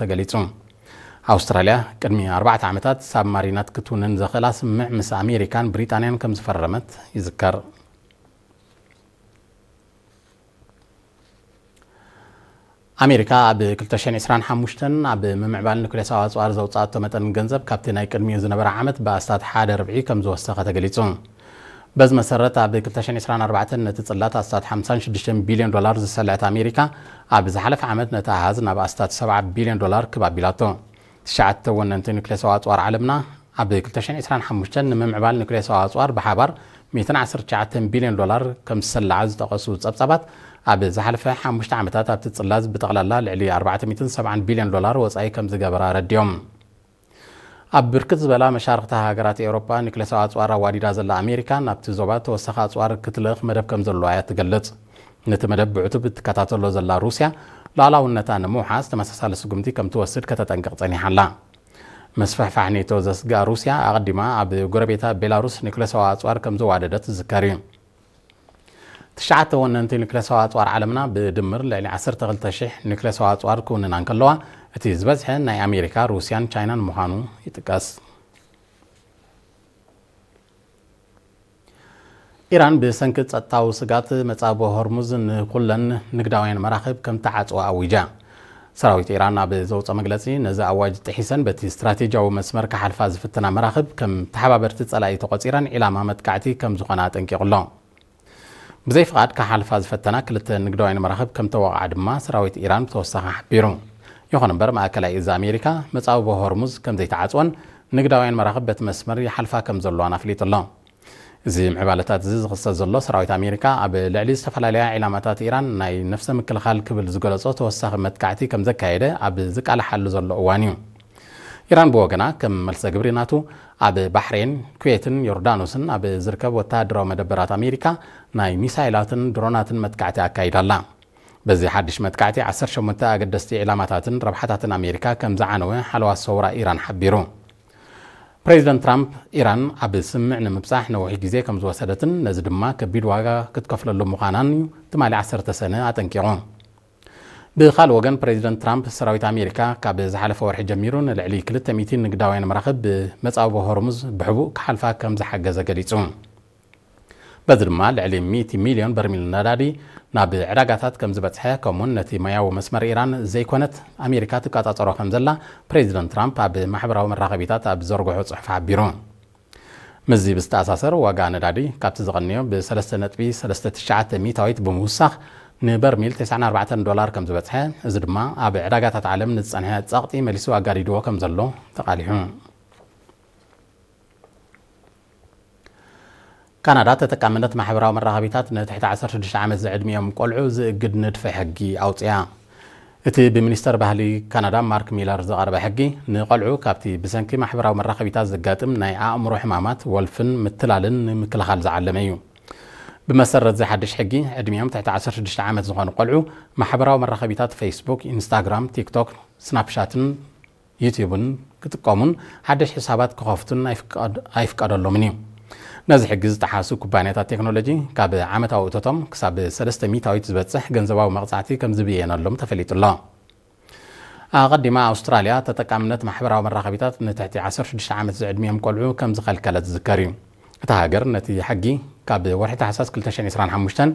ተገሊጹ። ኣውስትራልያ ቅድሚ ኣርባዕተ ዓመታት ሳብማሪናት ክትውንን ዘኽእላ ስምምዕ ምስ ኣሜሪካን ብሪጣንያን ከም ዝፈረመት ይዝከር። ኣሜሪካ ኣብ ክልተ ሽሕን ዕስራን ሓሙሽተን ኣብ ምምዕባል ኑክሌሳዊ ኣጽዋር ዘውጻኣቶ መጠን ገንዘብ ካብቲ ናይ ቅድሚኡ ዝነበረ ዓመት ብኣስታት ሓደ ርብዒ ከም ዝወሰኸ ተገሊጹ። በዚ መሰረት ኣብ ክልተ ሽሕን ዕስራን ኣርባዕተን ነቲ ጽላት ኣስታት ሓምሳን ሽዱሽተን ቢልዮን ዶላር ዝሰልዐት ኣሜሪካ ኣብ ዝሓለፈ ዓመት ነቲ ኣሃዝ ናብ ኣስታት ሰብዓ ቢልዮን ዶላር ክብ ኣቢላቶ። ትሽዓተ ወነንቲ ኑክሌሳዊ ኣጽዋር ዓለምና ኣብ ክልተ ሽሕን ዕስራን ሓሙሽተን ንምምዕባል ኑክሌሳዊ ኣጽዋር ብሓባር ሚእትን ዓሰርተ ትሽዓተን ቢልዮን ዶላር ከም ዝሰልዓ ዝጠቐሱ ጸብጻባት፣ ኣብ ዝሓለፈ ሓሙሽተ ዓመታት ኣብቲ ጽላዝ ብጠቕላላ ልዕሊ ኣርባዕተ ሚእትን ሰብዓን ቢልዮን ዶላር ወጻኢ ከም ዝገበራ ኣረዲኦም። ኣብ ብርክት ዝበላ መሻርኽቲ ሃገራት ኤውሮጳ ኑክሌሳዊ ኣጽዋር ኣዋዲዳ ዘላ ኣሜሪካ ናብቲ ዞባ ተወሳኺ ኣጽዋር ክትልእኽ መደብ ከም ዘለዋ እያ ትገልጽ። ነቲ መደብ ብዕቱብ እትከታተሎ ዘላ ሩስያ ሉዓላውነታ ንምውሓስ ተመሳሳሊ ስጉምቲ ከም ትወስድ ከተጠንቅቕ ጸኒሓ ኣላ። ምስፍሕፋሕ ኔቶ ዘስግኣ ሩስያ ኣቐዲማ ኣብ ጎረቤታ ቤላሩስ ኑክሌሳዊ ኣጽዋር ከም ዘዋደደት ዝዝከር እዩ። ትሽዓተ ወነንቲ ኑክሌሳዊ ኣጽዋር ዓለምና ብድምር ልዕሊ ዓሰርተ ክልተ ሽሕ ኑክሌሳዊ ኣጽዋር ክውንና እንከለዋ፣ እቲ ዝበዝሐ ናይ ኣሜሪካ፣ ሩስያን ቻይናን ምዃኑ ይጥቀስ። ኢራን ብሰንኪ ጸጥታዊ ስጋት መጻብቦ ሆርሙዝ ንኹለን ንግዳውያን መራኽብ ከም ተዓጽዋ ኣዊጃ። ሰራዊት ኢራን ኣብ ዘውጸ መግለጺ፣ ነዚ ኣዋጅ ጥሒሰን በቲ ስትራቴጂያዊ መስመር ክሓልፋ ዝፍትና መራኽብ ከም ተሓባበርቲ ጸላኢ ተቖጺረን ዒላማ መጥቃዕቲ ከም ዝኾና ኣጠንቂቑ ኣሎ። ብዘይ ፍቓድ ክሓልፋ ዝፈተና ክልተ ንግዳውያን መራኽብ ከም ተወቕዓ ድማ ሰራዊት ኢራን ብተወሳኺ ሓቢሩ። ይኹን እምበር፣ ማእከላይ እዝ ኣሜሪካ መጻብቦ ሆርሙዝ ከም ዘይተዓጽወን ንግዳውያን መራኽብ በቲ መስመር ይሓልፋ ከም ዘለዋን ኣፍሊጡ ኣሎ። እዚ ምዕባለታት እዚ ዝኽሰት ዘሎ፣ ሰራዊት ኣሜሪካ ኣብ ልዕሊ ዝተፈላለያ ዒላማታት ኢራን ናይ ነፍሰ ምክልኻል ክብል ዝገለጾ ተወሳኺ መጥቃዕቲ ከም ዘካየደ ኣብ ዝቃለሓሉ ዘሎ እዋን እዩ። ኢራን ብወገና፣ ከም መልሰ ግብሪ ናቱ፣ ኣብ ባሕሬን፣ ኩዌትን ዮርዳኖስን ኣብ ዝርከብ ወተሃደራዊ መደበራት ኣሜሪካ ናይ ሚሳይላትን ድሮናትን መጥቃዕቲ ኣካይዳ ኣላ። በዚ ሓድሽ መጥቃዕቲ፣ ዓሰርተ ሸሞንተ ኣገደስቲ ዒላማታትን ረብሓታትን ኣሜሪካ ከም ዝዓነወ ሓለዋ ሰውራ ኢራን ሓቢሩ። ፕሬዚደንት ትራምፕ፣ ኢራን ኣብ ስምምዕ ንምብጻሕ ነዊሕ ግዜ ከም ዝወሰደትን ነዚ ድማ ከቢድ ዋጋ ክትከፍለሉ ምዃናን እዩ ትማሊ ዓሰርተ ሰነ ኣጠንቂቑ። ብኻልእ ወገን፣ ፕሬዚደንት ትራምፕ፣ ሰራዊት ኣሜሪካ ካብ ዝሓለፈ ወርሒ ጀሚሩ ንልዕሊ ክልተ ሚእቲ ንግዳውያን መራኽብ ብመጻብቦ ሆርሙዝ ብሕቡእ ክሓልፋ ከም ዝሓገዘ ገሊጹ። በዚ ድማ ልዕሊ ሚእቲ ሚልዮን በርሚል ነዳዲ ናብ ዕዳጋታት ከም ዝበጽሐ፣ ከምኡውን ነቲ ማያዊ መስመር ኢራን ዘይኮነት ኣሜሪካ ትቆጻጸሮ ከም ዘላ ፕሬዚደንት ትራምፕ ኣብ ማሕበራዊ መራኸቢታት ኣብ ዝዘርግሖ ጽሑፍ ሓቢሩ። ምስዚ ብዝተኣሳሰር፣ ዋጋ ነዳዲ ካብቲ ዝቐንዮ ብ ሰለስተ ነጥቢ ሰለስተ ትሽዓተ ሚእታዊት ብምውሳኽ ንበርሚል ተስዓን ኣርባዕተን ዶላር ከም ዝበጽሐ፣ እዚ ድማ ኣብ ዕዳጋታት ዓለም ንዝጸንሐ ጸቕጢ መሊሱ ኣጋዲድዎ ከም ዘሎ ተቓሊሑ። ካናዳ ተጠቃምነት ማሕበራዊ መራኸቢታት ንትሕቲ ዓሰርተ ሽዱሽተ ዓመት ዝዕድሚኦም ቆልዑ ዝእግድ ንድፈ ሕጊ ኣውጽያ። እቲ ብሚኒስተር ባህሊ ካናዳ ማርክ ሚለር ዝቐረበ ሕጊ፣ ንቆልዑ ካብቲ ብሰንኪ ማሕበራዊ መራኸቢታት ዘጋጥም ናይ ኣእምሮ ሕማማት፣ ወልፍን ምትላልን ንምክልኻል ዝዓለመ እዩ። ብመሰረት እዚ ሓድሽ ሕጊ፣ ዕድሚኦም ትሕቲ ዓሰርተ ሽዱሽተ ዓመት ዝኾኑ ቆልዑ ማሕበራዊ መራኸቢታት ፌስቡክ፣ ኢንስታግራም፣ ቲክቶክ፣ ስናፕሻትን ዩቲዩብን ክጥቀሙን ሓድሽ ሕሳባት ክኸፍቱን ኣይፍቀድ-፣ ኣይፍቀደሎምን እዩ። ነዚ ሕጊ ዝጠሓሱ ኩባንያታት ቴክኖሎጂ፣ ካብ ዓመታዊ እቶቶም ክሳብ ሰለስተ ሚእታዊት ዝበጽሕ ገንዘባዊ መቕጻዕቲ ከም ዝብየነሎም ተፈሊጡ ኣሎ። ኣቐዲማ፣ ኣውስትራልያ ተጠቃምነት ማሕበራዊ መራኸቢታት ንትሕቲ ዓሰርተ ሽዱሽተ ዓመት ዝዕድሚኦም ቆልዑ ከም ዝኸልከለት ዝዝከር እዩ። እታ ሃገር ነቲ ሕጊ ካብ ወርሒ ታሕሳስ ክልተ ሽሕን ዕስራን ሓሙሽተን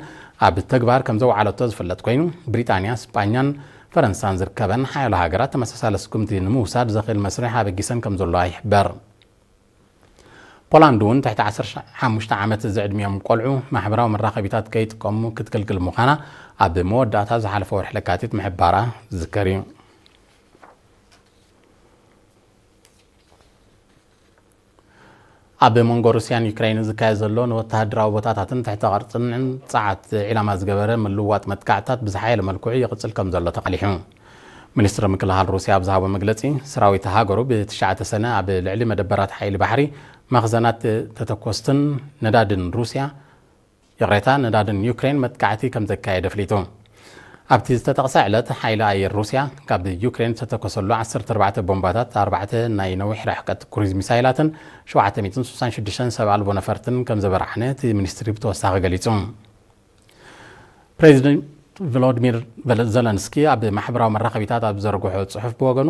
ኣብ ተግባር ከም ዘውዓለቶ ዝፍለጥ ኮይኑ፣ ብሪጣንያ፣ ስጳኛን ፈረንሳን ዝርከበን ሓያሎ ሃገራት ተመሳሳሊ ስጉምቲ ንምውሳድ ዘኽእል መስርሕ ኣበጊሰን ከም ዘለዋ ይሕበር። ፖላንድ እውን ትሕቲ ዓሰርተ ሓሙሽተ ዓመት ዝዕድሚኦም ቆልዑ ማሕበራዊ መራኸቢታት ከይጥቀሙ ክትክልክል ምዃና ኣብ መወዳእታ ዝሓለፈ ወርሒ ለካቲት ምሕባራ ዝዝከር እዩ። ኣብ መንጎ ሩስያን ዩክሬንን ዝካየድ ዘሎ ንወተሃደራዊ ቦታታትን ትሕተ ቅርጽን ጸዓት ዒላማ ዝገበረ ምልውዋጥ መጥቃዕትታት ብዝሓየለ መልክዑ ይቕጽል ከም ዘሎ ተቓሊሑ። ሚኒስትሪ ምክልኻል ሩስያ ኣብ ዝሃቦ መግለጺ፣ ሰራዊት ሃገሩ ብትሽዓተ ሰነ ኣብ ልዕሊ መደበራት ሓይሊ ባሕሪ፣ መኽዘናት ተተኮስትን ነዳድን ሩስያ፣ ይቕሬታ፣ ነዳድን ዩክሬን መጥቃዕቲ ከም ዘካየደ ኣፍሊጡ። ኣብቲ ዝተጠቕሰ ዕለት፣ ሓይሊ ኣየር ሩስያ ካብ ዩክሬን ዝተተኮሰሉ ዓሰርተ ኣርባዕተ ቦምባታት፣ ኣርባዕተ ናይ ነዊሕ ርሕቀት ክሩዝ ሚሳይላትን ሸውዓተ ሚእትን ስሳን ሽዱሽተን ሰብ ኣልቦ ነፈርትን ከም ዘበራዕነ እቲ ሚኒስትሪ ብተወሳኺ ገሊጹ። ፕሬዚደንት ቮሎዲሚር ዘለንስኪ ኣብ ማሕበራዊ መራኸቢታት ኣብ ዘርግሖ ጽሑፍ ብወገኑ፣